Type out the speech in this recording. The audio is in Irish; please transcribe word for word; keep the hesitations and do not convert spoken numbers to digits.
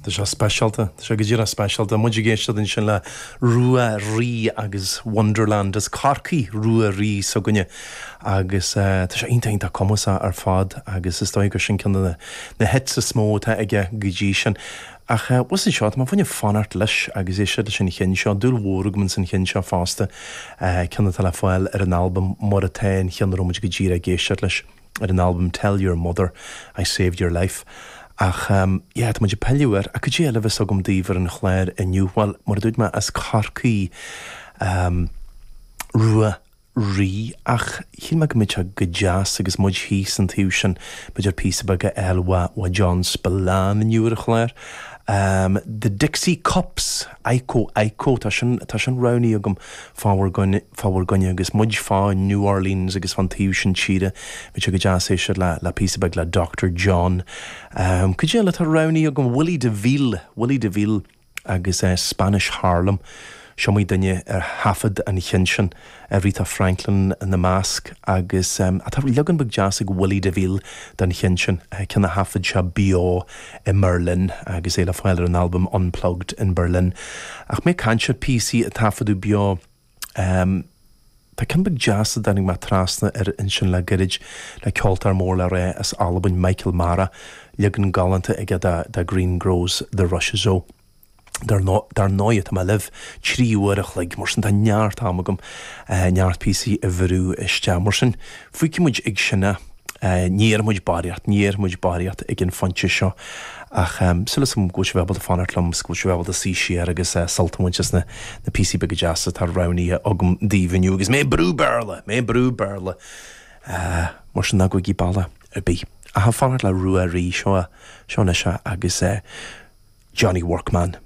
Tá sé speisialta, tá sé go díreach speisialta. Muid ag éisteacht ansin le Rua Rí agus Wonderland as Corcaigh Rua Rí s'againne agus tá sé iontach iontach cumasach ar fad agus is dóigh gur sin ceann de na hits is mó atá aige go dtí sin. Ach bhuel seo tá mé chun fanacht leis agus éisteacht leis an cheann seo, dúil mhór agam san cheann seo fosta, ceann atá le fáil ar an albam mar atá an cheann a raibh muid go díreach ag éisteacht leis ar an albam Tell Your Mother I Saved Your Life. Ach um, yeah, tá muid ag pilleadh air, ach cad é eile a bheas agam daoibh ar an chlár inniu, Bhuel, mar a dúirt mé as Corcaigh um, Rua Rí ach shíl mé go mbeadh sé go deas agus muid thíos an taobh sin b'fhéidir píosa beag a fháil ó John Spillane inniu ar an chlár. Um, The Dixie Cups, Iko Iko, tá sin, tá sin roghnaithe agam fá bhur gcoinne, fá bhur gcoinne agus muid fá New Orleans agus fan taobh sin tíre, bhí sé go deas éisteacht le, le píosa beag le Doctor John. Um, Cad é eile atá roghnaithe agam Willie DeVille, Willie DeVille agus uh, Spanish Harlem. Is iomaí duine ar thaifead an cheann sin Aretha Franklin ina measc agus um, atá leagan beag deas ag Willie DeVille den cheann sin ceann a thaifead sé beo i mBerlin agus é le fáil ar an album Unplugged in Berlin. Ach mé ag caint ar píosaí a taifeadadh beo um, Tá ceann beag deas a dtáinig mé trasna ar ansin le gairid le ceoltóir mór le rá as Albain Michael Mara, leagan galánta aige de, de Green Grows the Rushes O. Dar ndóigh tá mé libh trí uair a chloig mar sin tá neart am agam neart píosaí a bhrú isteach mar sin. Fágfaidh muid ag sin é ní dhéarfaidh muid barraíocht, ní dhéarfaidh muid barraíocht ag an phointe seo ach um, súil agam go bhfuil sibh ábalta fanacht liom go bhfuil sibh ábalta suí siar agus uh, sult a bhaint as na, na píosaí beaga deasa atá roghnaithe agam daoibh inniu agus mé brú Béarla, mé brú Béarla. Uh, mar sin ná gabhaigí bealach ar bith. A fanacht le Rua Rí seo seo anois agus uh, Johnny Workman.